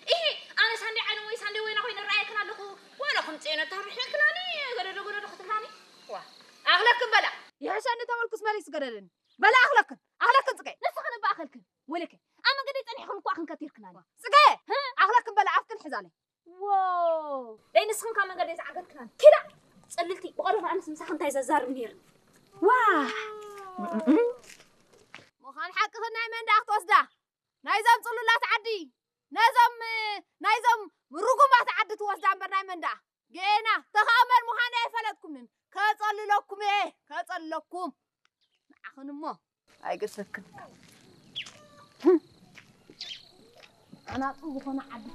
ኢሂ፣ ኣነ ሳንዴ ዓይነ ወይ ሳንዴ ወይና ኮይነ ራእየክን ኣለኹ። ዋላ ከም ጽዮነ ታርሕክናኒ፣ ገደደ ገደደ ክትብላኒ። ዋ፣ ኣኽለክን በላ። ይሕሸኒ ተመልኩስ መሊስ ገደደኒ። በላ ኣኽለክን፣ ኣኽለክን ጽገ። ንስኽን እባ ኣኸልክን። ወለከ፣ ኣብ መንገዲ ጸኒሕክን እኮ ኣኽን ከቲርክናኒ። ጽገ፣ ኣኽለክን በላ ኣፍክን ሕዛለይ። ዎ፣ ደይ ንስኽን ካብ መንገዲ ዝዓገትክናኒ። ኪዳ፣ ጽልልቲ፣ ብቐደም ኣነስ ምሳኽ እንታይ ዘዛርብ ነይርኒ። ዋ፣ ምዃን ሓቅኽን ናይ መንዳ ክትወስዳ። ናይዞም ጽሉላት ዓዲ፣ ነዞም፣ ናይዞም ርጉማት ዓዲ ትወስዳ እምበር ናይ መንዳ። ጌና፣ ተኸእመን ምዃነ ኣይፈለጥኩምን። ከጸልለኩም እየ፣ ከጸልለኩም። ንዓኽን እሞ ኣይገሰክን። ኣናጡ ዝኾነ ዓዲ